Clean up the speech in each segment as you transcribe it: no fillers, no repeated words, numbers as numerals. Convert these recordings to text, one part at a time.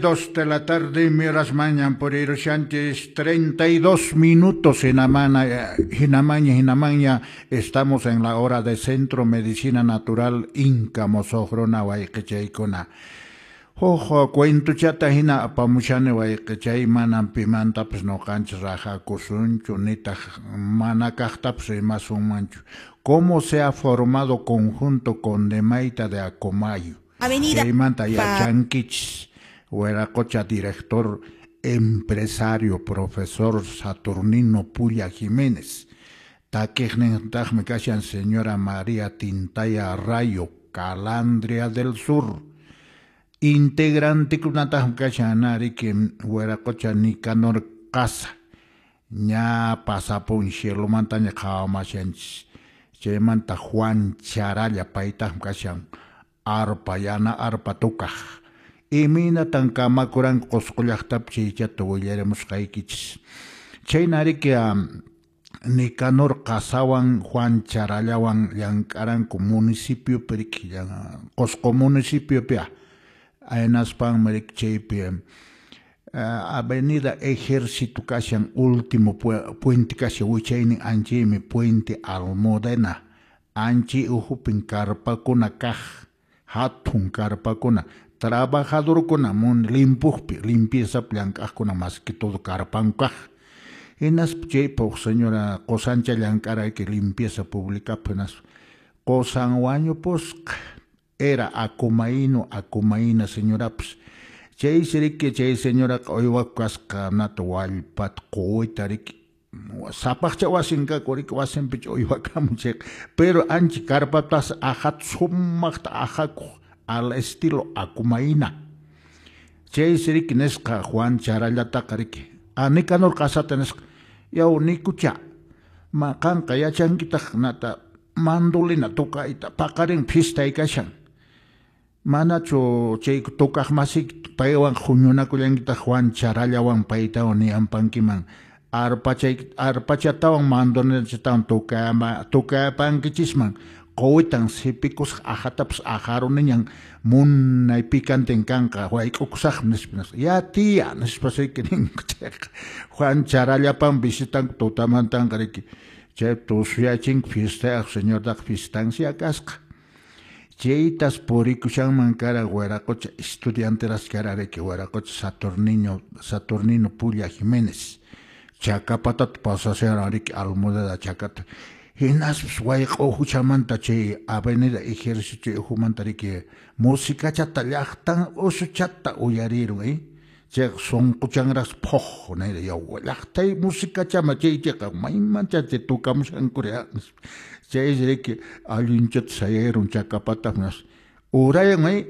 2 de la tarde, miras mañan por Sánchez, 32 minutos en Amana, Hinamaña, Hinamaña, estamos en la hora de Centro Medicina Natural Inca Mosojrona Wayqichaykuna. Huk cuentuchata hina apamushani wayqichay, manam pimantapas ñuqanchis rajakusunchu nitaq mana kaqtapas rimasunmanchu. ¿Cómo se ha formado conjunto Condemayta de Acomayo? Avenida Chaymanta yachankichis, Huiracocha director, empresario, profesor Saturnino Pulla Jiménez. Takiqnintaqmi kashan señora María Tintaya Rayo, Calandria del Sur. Integrantekunataqmi kashan riki Huiracocha Nicanor Casa. Ña pasapun cielomantaña qhawamashanchis. Chaymanta Juan Charalla paytaqmi kashan arpa, yana arpa tukaq. Imaynatan kamakuranku Qusqu llaqtapi chaychata willarimusqaykichis. Chayna riki Nicanor Qasawan Juan Charallawan llank'aranku municipiopi riki, Qusqu municipiopi hinaspanmi riki chaypi Avenida Ejército kashan último puente kashan wichaynin anchaymi puente Almudena, anchay uhupin karpakuna kaq, hatun karpakuna, trabajadorkuna mun limpuqpi limpieza llank'aqkuna más que todo karpanku kaq. Hinaspa chaypa huk señora qusancha llank'arayki limpieza publicapi, hinaspa qusan wañupusqa, era akumayno akumayna señorapas. Chaysi riki chay señoraqa uywakuq kasqa nata wallpata quwita riki, sapaqcha wasin kaku riki, wasinpicha uywakamun chayqa, pero ancha karpatas aqhata sumaqta aqhakuq al estilo akumayna. Chaysi riki nisqa Juan Charallataqa riki, Nicanor Qasata nisqa, yaw Nikucha, ma qanqa yachankitaq nata mandolina tukayta, paqarin fiestay kashan. Manachu chay tukaq masiyki paywan huñunakullankitaq Juan Charallawan paytawan niyanpankiman, arpachatawan mandolinachatawan tukayapankichisman, quwitan sipikusaq aqhatapas aqharuniñan munay picanten kanqa wayk'ukusaqmi nispa nisqa. Ya tía nispa riki ninku chayqa. Juan Charallapan visitanku tutamantanqa riki, chay tusuyachinku fiestayaq señortaqa fiestancia kasqa. Chaytas purikushanman kara Huiracocha estudianteras kara riki Huiracocha Saturnino Pulla Jiménez. Chacapatata pasasharan riki Almudena chakata. Hinaspas wayq'u uhuchamanta chay Avenida Ejército uhumanta riki musikachata llaqtan usuchata uyarirun, Chayqa sunquchanraqsi phuq nira, yaw llaqtay musikachama chay chayqa maymancha chay tukamushankuri nispa. Chaysi riki allinchata sayayrun chakapata urayan,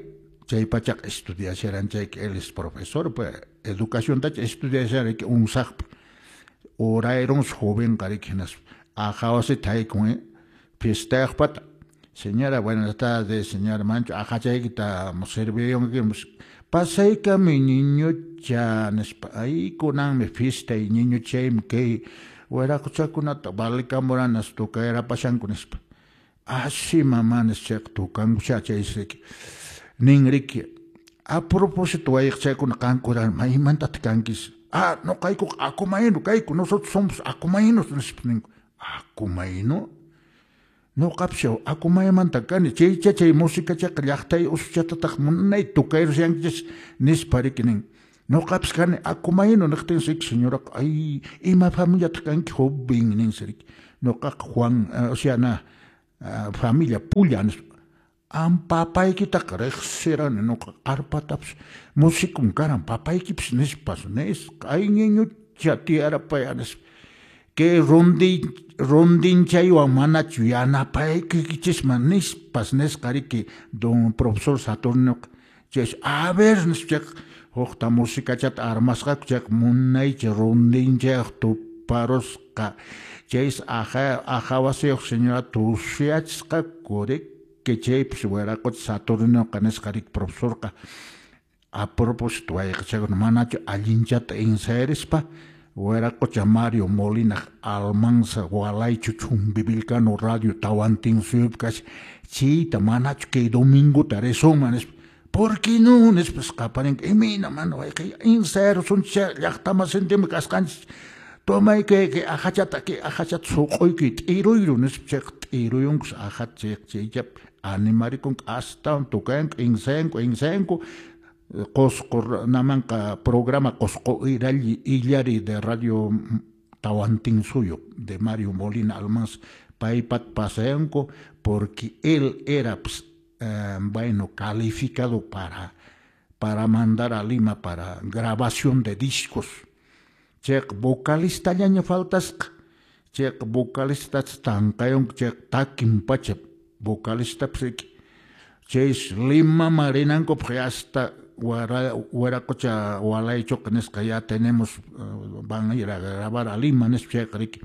chay pachaqa estudiasharan chayqa, él es profesor, pues, educaciontacha estudiasharan riki unsaqpi. Urayrunsi jovenqa riki hinaspa aqha wasita haykun, fiestayaqpata. Señora, buenas tardes, señora Mancho, aqhachaykita sirviyunki, pasaykami niñucha nispa, ay kunanmi fiestay niñuchaymi kay wiraquchakunata valikamuranas tukayrapashanku nispa. Así mamá nispa chayqa tukankucha chaysi riki. Nin riki, a propósito wayqchaykuna qankuna maymantataq kankis? Ah, nuqaykuqa akumayno kayku, nosotros somos akumaynos nispa ninku. Akumayno? Nuqapas akumaymanta kani, chaycha chay musikachaqa llaqtay usuchatataq munay tukayrushankichis nispa riki nin. Nuqapas kani akumayno niqtinsi riki señoraqa, ay ima familiataq kanki joven ninsi riki. Nuqaqa Juan, o sea na, familia Pulla nispa. Am papaykitaqa riqsirani nuqa arpatapas musicum karan papaykipas nispas nisqa, ay ñiñucha tiyarapaya nispa. Kay rondinchaywan manachu yanapaykichisman nispas nisqa riki don profesor Saturninoqa. Chaysi a ver nispa chayqa hukta musikachata armasqaku chayqa munaycha rondinchayaq tuparusqa. Chaysi aqa wasiyuq señora tusuyachisqaku riki chaypis Huiracocha Saturninoqa nisqa riki profesorqa. A propósito wayqichakuna manachu allinchata ensayarispa Huiracocha Mario Molina Almanza Walaychu Chumbivilcano Radio Tawantinsuyupi kashan chayta manachu kay domingota risunman nispa. ¿Por qué no? Nispas qaparin imina mana wayqi insayarusunchis llaqtamasintima kasqanchis. Tomay que ajachata que ajachata suq'uyki t'iruyru nispa chayqa t'iruyunkus ajata chayqa chaychapi animarikunku astawan tukayanku insayanku insayanku Qosqo namanqa programa Qosqo Illari de Radio Tahuantinsuyo de Mario Molina Almanza paypat pasayanku porque él era pues, bueno, calificado para mandar a Lima para grabación de discos. Chayqa vocalistallaña faltasqa. Chayqa vocalista tanqayunku chayqa takin pacha vocalistapis riki. Chaysi Limaman rinankupaq hasta Wiraqucha Walaychuqa nisqa ya tenemos van a ir a grabar a Lima nispa chayqa riki.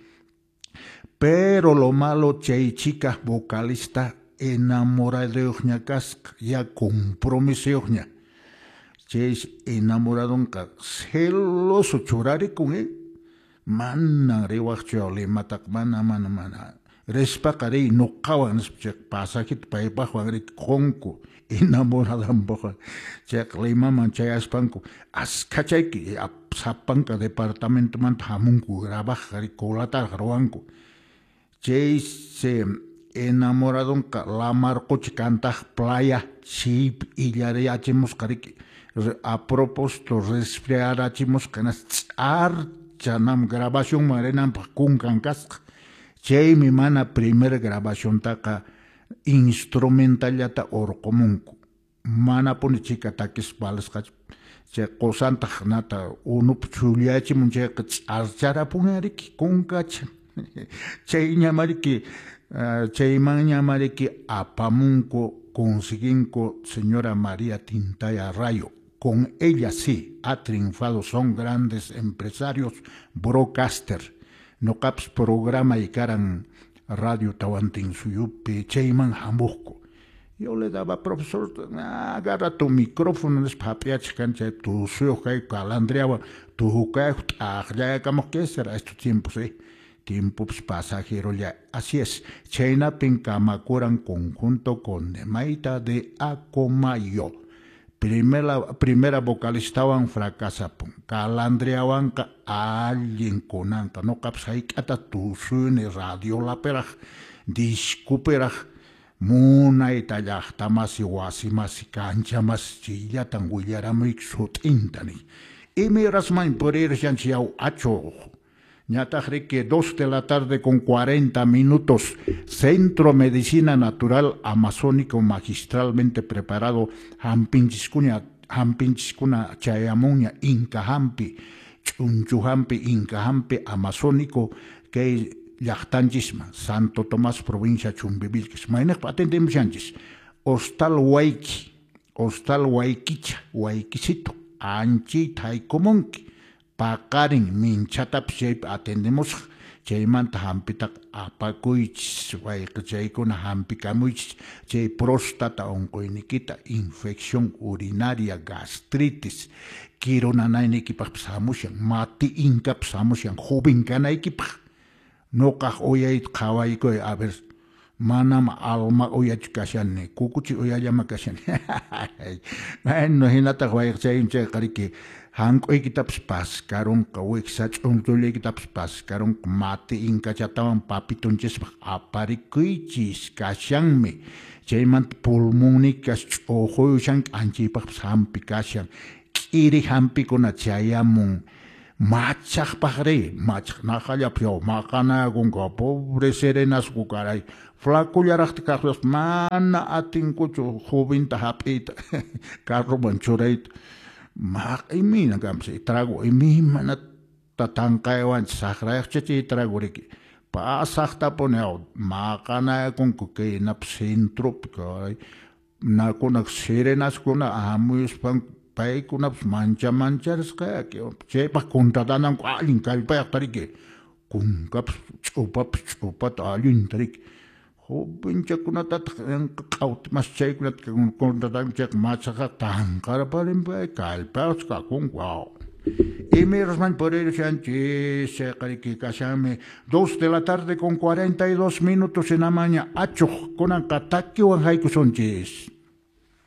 Pero lo malo chay chica vocalista enamoraduyuqña kasqa ya compromisuyuqña. Chaysi enamoradunqa celoso churarikun, eh? Manan riwaqchu Limataqa, mana, mana, mana. Rispaqa riy nuqawan nispa chayqa pasajita paypaqwan riki qunku enamoradanpaqwan. Chayqa Limaman chayaspanku askhachayki sapanka departamentomanta hamunku grabaqqa riki colataraq ruwanku. Chaysi enamoradunqa lamar qucha kantaq playa chaypi illariyachimusqa riki. A propósito resfriarachimusqa hinaspa ch'archanam grabacionman rinanpaq kunkan kasqa. Chaymi mana primer grabaciontaqa instrumentallata urqumunku. Manapuni chika takispa valisqachu. Chay qusantaq nata unupi chhullayachimun chayqa ch'archarapunña riki kunkacha. Chayñama riki chaymanñama riki apamunku consiguinku señora María Tintaya Rayo. Con ella sí ha triunfado, son grandes empresarios, broadcaster. Nuqapis programay karan Radio Tahuantinsuyupi, chayman hamuqku. Yo le daba, profesor, agarra tu micrófono, nispa hap'iyachiq kani chay tusuyuq kayku calandriawan tukayku t'aqllayakamuq, ¿qué será estos tiempos, eh? Tiempos pasajeros ya. Así es, chaynapin kamakuran conjunto Condemayta de Acomayo. Primera vocalistawan fracasapun. Calandriawanqa allin kunanqa. Nuqapis hayk'ata tusuyni radiolapiraq, discopiraq, munayta llaqtamasi, wasimasi, kanchamasi chayllatan willaramuyki sut'inta niy. Imayrasman purirushanchis yaw achuq. Ñataq riki 2 de la tarde con 40 minutos. Centro Medicina Natural Amazónico magistralmente preparado. Hampinchiskuna chayamunña Inca Hampi, Ch'unchu Hampi, Inca Hampi Amazónico kay llaqtanchisman, Santo Tomás, provincia Chumbivilcas. Mayniqpa atendemushanchis. Hostal Wayki, Hostal Waykicha, Waykisito, anchayta haykumunki. Paqarin minchatapis chaypi atendemusaq, chaymanta hampitaqa apakuychis, wayqichaykuna hampikamuychis, chay próstata unquyniykita, infección urinaria, gastritis, kiru nanayniykipaqpis hamushan, mati inkapis hamushan, joven kanaykipaq. Nuqaq uyayta qhawaykuy, a ver, manam alma uyachu kashani, kukuchi uyallama kashani. Bueno, hinataq wayqichay chayqa riki hank'uykitapas paskarunqa, wiksa ch'unchullaykitapas paskarunqa, mati inkachatawan papitunchispaq aparikuychis kashanmi. Chaymanta pulmonnikas ch'uquyushanki anchaypaqpas hampi kashan. K'iri hampikuna chayamun. Machaqpaqri, machaq naqallapi yaw maqanakunku, pobre serenasku caray. Flacullaraqta kaqpas mana atinkuchu jovinta hap'iyta, carroman churayta. Imayna kanpas trago, imaymanata tanqaywanchis saqrayaqcha chay trago riki. Pasaqtapuni yaw maqanakunku kay napas centropi caray. Nakuna serenaskuna hamuyuspanku paykunapas mancha mancharisqa chaypaq contratananku allin kallpayaqta riki. Kunkapas ch'upapas ch'upata allinta riki. Jovenchakunatataq q'awta mas chaykunata contratanku chayqa machaqa tanqarparinpay kallpayaqchu kakunku. Imayrasman purirushanchis chayqa riki kashanmi 2 de la tarde con 42 minutos hinamaña achuq kunanqa takiwan haykusunchis.